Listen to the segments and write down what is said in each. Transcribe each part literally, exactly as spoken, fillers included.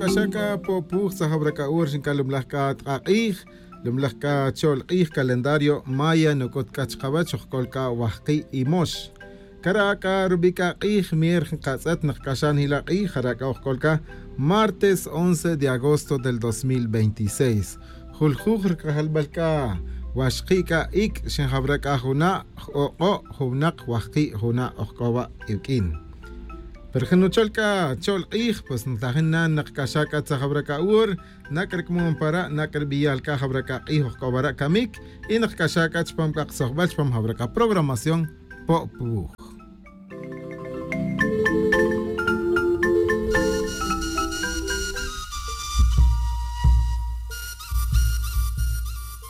K'axa' c'a po'puj tzajawra c'a ur xin c'a lumlaj c'a tk'ak'ij, lumlaj c'a cho'l k'ij calendario maya nuc'ut c'a chkawech ojc'ol c'a wajki' imox. Cara' c'a rubi' c'a k'ij mier nkatz'et nkac'axa' njila' k'ij jara' c'a ojc'ol c'a martes once de agosto del dos mil veintiséis. Juljuj rc'ajalbal c'a waxki' c'a ic' xinjawra c'a juna' j'ok'o' juvnak wajki' juna' ojc'o wa' iwq'uin. Pero jun nuchol c'a cho'l k'ij pues ntajin na nkac'axa' c'a tzajawra c'a ur. Nak' rc'amon para nak' rbiyal c'a jawra c'a k'ij ojc'o wara' camic y nkac'axa' c'a chupam c'a ktzojbal chupam jawra c'a programación. Po'puj.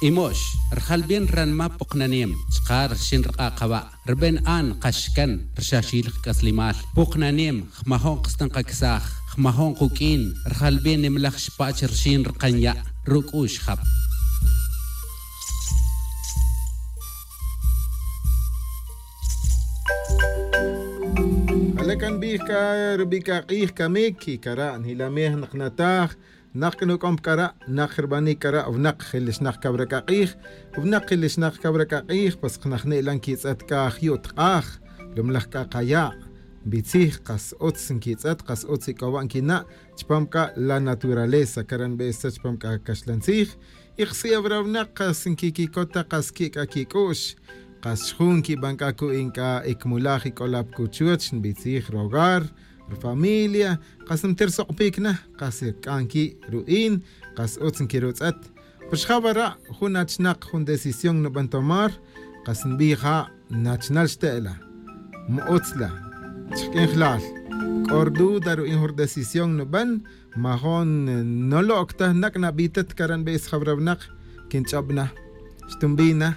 Imox, rjalbin ranma puknanem chka' rxin rk'a' kawa'. Rben an kaxkan rxaxil kc'aslimal puknanem. Jmajon ksten kaksaj, jmajon kuk'in rjalbin nimlaj xpach rxin rkan ya' ruk'ux jap. Ale' can bij c'a rubi' c'a k'ij camic y cara' njilamej nak nataj. Nak c'a nuc'om c'a ra' nak rbanic c'a ra' wnak jil xnak cawra c'a k'ij. Wnak jil xnak cawra c'a k'ij pues knajni' la nquitz'et c'a jyu' tk'aj lumlaj c'a kaya'. Nbitzij kas utz nquitz'et kas utz ic'o wa' nquina' chupam c'a la naturaleza cara' nbestzet chupam c'a caxlan tzij. Y kasi'ewra wnak kas nquiquicot ta kas qui' c'a quic'u'x. Kas xjun nquiban c'a cu'in c'a icmulaj ic'olap cuchuch nbitzij rogar, rfamilia. Kas nter sok'pic na kas rc'an qui' ru'in. Kas utz nquirutz'et. Pues jawara' jun achnak jun decisión nuban tomar. Kas nbij ja' nachnal xte'la. Ma utz la chk'injlal. C'o rduda ru'in jun rdecisión nuban. Majon nolo'c ta nak' nabitet cara' nbis jawra wnak. Quinch'ob na xtunbi na.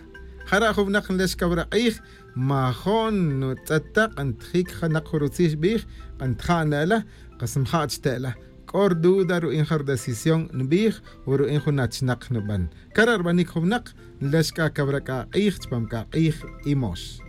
Jara' jun wnak nlex cawra k'ij. Majon nutz'et ta k'antijic janak jun rutzij xbij. K'antija' ne'la kas mja' chte'la. C'o rduda ru'in ja rdecisión nbij o ru'in jun achnak nuban. Cara' rbanic jun wnak nlex c'a cawra c'a k'ij chupam c'a k'ij. Imox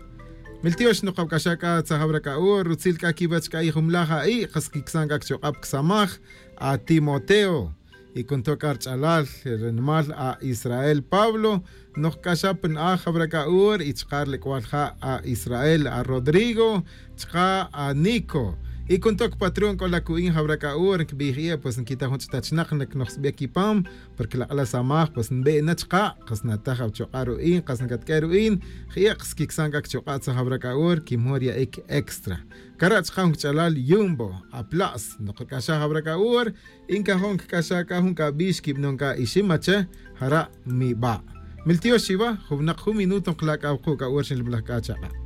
miltiox nukawc'axa' c'a tzajawra c'a ur rutzil c'a quiwech c'a ijumlaj a'i' kas quicsan c'a cchuk'ab csamaj. A timoteo y cunto c'a rch'alal rnimal a israel pablo. Nokc'axa' pa na'aj jawra c'a ur y chka' rlec'wal ja' a israel a rodrigo chka' a nico. Y cunto cpatrón c'o la cu'in jawra c'a ur nquibij ie' pues nquita jun ch'tachnak nocnojsbiye' quipam. Porque lak'la' samaj pues nbe' na chka' kas nataj awchuk'a' ru'in kas ncatq'ue' ru'in. Jie' kas quicsan c'a cchuk'a' tzajawra c'a ur quimon riya'ic extra. Cara' chka' jun cch'alal yumbo apla's nokc'axa' jawra c'a ur. Y ncajon cc'axa' c'a jun c'a bix quibanon c'a iximache. Jara' miba' miltiox chiwa jun wnak jun minuto nkla' c'a wuku' c'a ur xinlumlaj c'a chak'a'.